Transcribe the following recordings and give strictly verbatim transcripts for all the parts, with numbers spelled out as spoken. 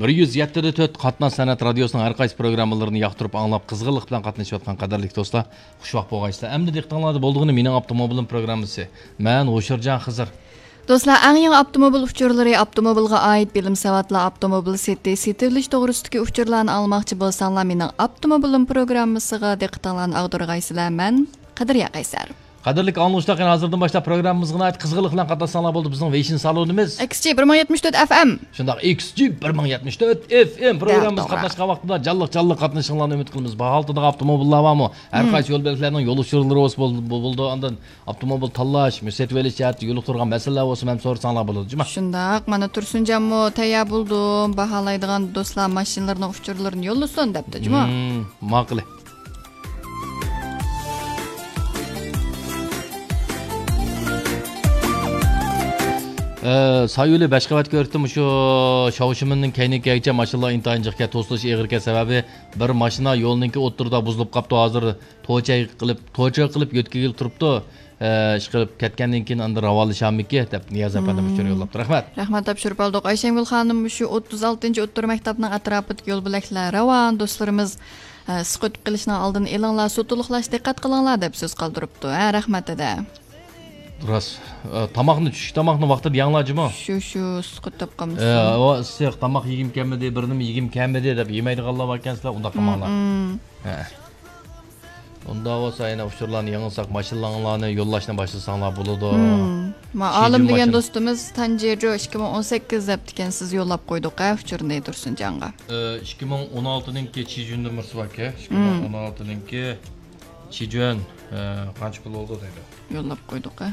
بىر يۈز يەتتە دە تۆت قاتناش سەنئەت رادىيوسىنىڭ ھەر قايسى پروگراممىلىرىنى ياقتۇرۇپ ئاڭلاپ، قىزغىنلىق بىلەن قاتنىشىۋاتقان قەدىرلىك دوستلار، خۇشۋاق بولغايسىلەر. ئەمدى دىققىتىڭلاردا بولىدىغىنى مېنىڭ ئاپتوموبىلىم پروگراممىسى. مەن ھوشۇرجان خىزىر. دوستلار، ئەڭ يېڭى ئاپتوموبىل ئۇچۇرلىرى، ئاپتوموبىلغا ئائىت بىلىم ساۋاتلار، ئاپتوموبىل سېتىش، سېتىۋېلىش توغرىسىدىكى ئۇچۇرلارنى ئاڭلىماقچى بولساڭلار، مېنىڭ ئاپتوموبىلىم پروگراممىسىغا دىققىتىڭلارنى ئاغدۇرغايسىلەر. مەن قەدرىيە قەيسەر. قەدىرلىك ئاڭلىغۇچىلار، قېنى ھازىردىن باشلاپ پروگراممىمىزغا ناھايىتى قىزغىنلىق بىلەن قاتناشساڭلار بولدى. بىزنىڭ ۋېيشىن سالونىمىز. ئېكس جى بىر مىڭ يەتمىش تۆت ئەف ئېم. شۇنداق، ئېكس جى بىر مىڭ يەتمىش تۆت ئېف ئېم پروگراممىمىزغا قاتناشقان ۋاقتىدا جانلىق، جانلىق قاتنىشىشىڭلارنى ئۈمىد قىلىمىز. باھالتىدىغان ئاپتوموبىللار بارمۇ؟ ھەر قايسى يول بەلگىلەرنىڭ يول ئۇچۇرلىرى بولسا بول-، بولىدۇ. ئاندىن ئاپتوموبىل تاللاش، سېتىۋېلىش جەھەتتە يولۇقتۇرغان مەسىلىلەر بولسا ھەم سورىساڭلار بولىدۇ، جۇما. شۇنداق، مانا تۇرسۇنجانمۇ تەييار بولدۇم، باھالايدىغان دوستلار ماشىنىلىرىنىڭ ئۇچۇرلىرىنى يوللىسۇن دەپتۇ، جۇما. مم، ماقۇل. ئە، سايۇلى بەش قەۋەت كۆرۈپتۇ، مۇشۇ شاۋشىمىننىڭ كەينىگە كەلگۈچە ماشىنىلار ئىنتايىن جىقكەن، توسۇلۇش ئېغىركەن، سەۋەبى بىر ماشىنا يولنىڭكى ئوتتۇرىدا بۇزۇلۇپ قاپتۇ، ھازىر توچاي قىلىپ، توچاي قىلىپ يۆتكىگىلى تۇرۇپتۇ. ئە، ئىشقىلىپ كەتكەندىن كېيىن ئاندىن راۋانلىشامىكى دەپ نىياز ئەپەندىم ئۇچۇر يوللاپتۇ. رەھمەت. رەھمەت، تاپشۇرۇپ ئالدۇق. ئايشەمگۈل خانىم، شۇ ئوتتۇز ئالتىنچى ئوتتۇرا مەكتەپنىڭ ئەتراپىدىكى يول بۆلەكلەر راۋان، دوستلىرىمىز، ئە، سىقىۋېتىپ قېلىشنىڭ ئالدىنى ئېلىڭلار، سۇ تولۇقلاش دىققەت قىلىڭلار دەپ سۆز قالدۇرۇپتۇ. ھە، رەھمەت دەدە. راست. ئە، تاماقنى، چۈشلۈك تاماقنى ۋاقتىدا يەڭلار، جۇمۇ. شۇ، شۇ، سۇقۇت تاپقانمىز. ئە، ئۇ ئىسسىق، تاماق يېگۈم كەلمىدى، بىر نېمە يېگۈم كەلمىدى دەپ يېمەيدىغانلار باركەن، سىلەر ئۇنداق قىلماڭلار. ھە. ئۇنداق بولسا يەنە ئۇچۇرلارنى يېڭىلساق، ماشىنىلىرىڭلارنى يوللاشنى باشلىساڭلار بولىدۇ. ما ئالىم دېگەن دوستىمىز تانجېجو ئىككى مىڭ ئون سەككىز دەپتىكەن، سىز يوللاپ قويدۇق، ھە، ئۇچۇرنى تۇرسۇنجانغا. ئە، ئىككى مىڭ ئون ئالتىنىڭكى چىجۈن نومۇرسى باركەن، ئىككى مىڭ ئون ئالتىنىڭكى چىجۈن، ئە، قانچە پۇل بولدى دەيدۇ. يوللاپ قويدۇق، ھە.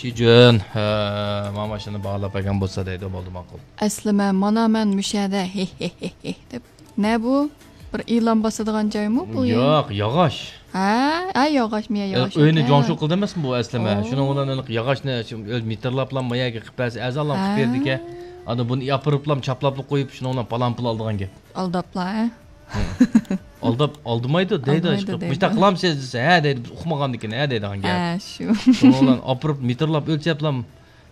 چىجۈن، ئە، ما ماشىنىنى باھالاپ بەرگەن بولسا دەيدۇ، بولدى، ماقۇل. ئەسلىمە، مانا مەن مۇشەدە، ھې، ھې، ھې، ھې، دەپ. نە بۇ؟ بىر ئېلان باسىدىغان جايمۇ بۇ يەر؟ ياق، ياغاچ. ھە؟ ھە، ياغاچ، مىيە ياغاچ. ئۆينى جوڭشۇ قىل دەمەسمۇ بۇ ئەسلىمە؟ شۇنىڭ بىلەن ياغاچنى مېتىرلاپلا ما يەرگە قىلىپ بەرسە، ئەزالام قىلىپ بېرىدىكەن. ئاندىن بۇنى ئاپىرىپلا چاپلاپلا قويۇپ، شۇنىڭ بىلەن پالان پۇل ئالىدىغان گەپ. ئالداپلا، ھە؟ ئالداپ، ئالدىمايدۇ دەيدۇ، ئالدىمايدۇ دەيدۇ. مۇشۇنداق قىلامسىز دېسە، ھە دەيدۇ، بىز ئۇقمىغاندىكىن، ھە دەيدىغان گەپ. ھە، شۇ. شۇنىڭ بىلەن ئاپىرىپ مېتىرلاپ ئۆلچەپلا،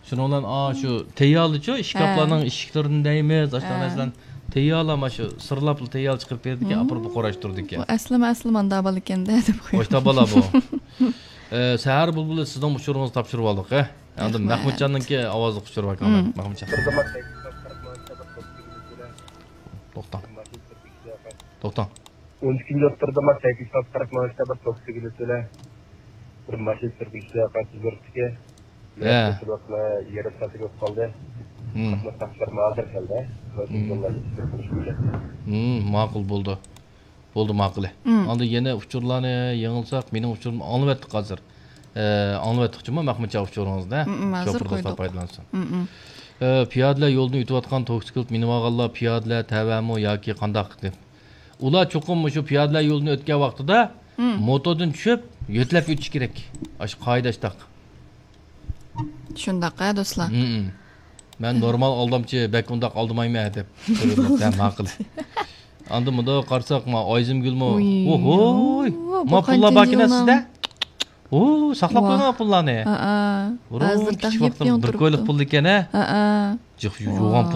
شۇنىڭ بىلەن، ئا، شۇ تەييارلىچۇ، ئىشكاپلارنىڭ ئىشىكلىرىنى دەيمىز، ئاشۇنداق نەرسىلەرنى تەييارلاپ، شۇ سىرلاپلا تەييار چىقىرىپ بېرىدىكەن، ئاپىرىپ قوراش تۇرىدىكەن. بۇ ئەسلىمە، ئەسلىمە ئاندا بالا ئىكەن-دە دەپ قويۇپ. ئاشتا بالا بۇ. ئە، سەھەر بۇلبۇلى، سىزنىڭ ئۇچۇرىڭىزنى تاپشۇرۇۋالدۇق، ھە. ئاندىن مەھمۇتجاننىڭكى ئاۋازلىق ئۇچۇرى باركەن، مەھمۇتجان. توختاڭ. توختاڭ. ئون ئىككىنچى ئوتتۇرىدا ما سەككىز يۈز قىرىق مىڭ ئىشتا بىر توكسىگىلى تۆلە. بىر ماشىنا سۈرگۈچىسى قايسى يۈرۈپتىكى؟ ھە. يېرىم سائەت بولۇپ قالدى. قاتناش تاپشۇرما ھازىر كەلدى. ماقۇل بولدى. بولدى، ماقۇلى. ئاندىن يەنە ئۇچۇرلارنى يېڭىلساق، مېنىڭ ئۇچۇرۇمنى ئاڭلىۋەتتۇق ھازىر. ئە، ئاڭلىۋەتتۇق جۇمۇ، مەھمۇتجان ئۇچۇرىڭىزنى. ھازىر شوپۇر دوستلار پايدىلانسۇن. ئە، پىيادىلەر يولىدىن ئۆتۈۋاتقان توكسىكلىت مىنىۋالغانلار پىيادىلەر تەۋەمۇ ياكى قانداق دەپ. ئۇلار چوقۇم مۇشۇ پىيادىلەر يولىدىن ئۆتكەن ۋاقتىدا موتوردىن چۈشۈپ، يۆتىلەپ ئۆتۈش كېرەك. ئاشۇ قائىدە ئاشتاق. شۇنداق ھە، دوستلار. مەن نورمال ئالدامچى، بەك ئۇنداق ئالدىمايمەن دەپ. ھە، ماقۇل. ئاندىن مۇنداق قارىساق، ما ئايزىمگۈلمۇ. ۋوي. ئوھوي. ما پۇللار باركىنا سىزدە؟ ئۇ، ساقلاپ قويغان پۇللارنى. ھە. ھازىر كىچىك ۋاقتىم بىر كويلۇق پۇل ئىكەن ھە. ھە. جىق يۇغان پۇل.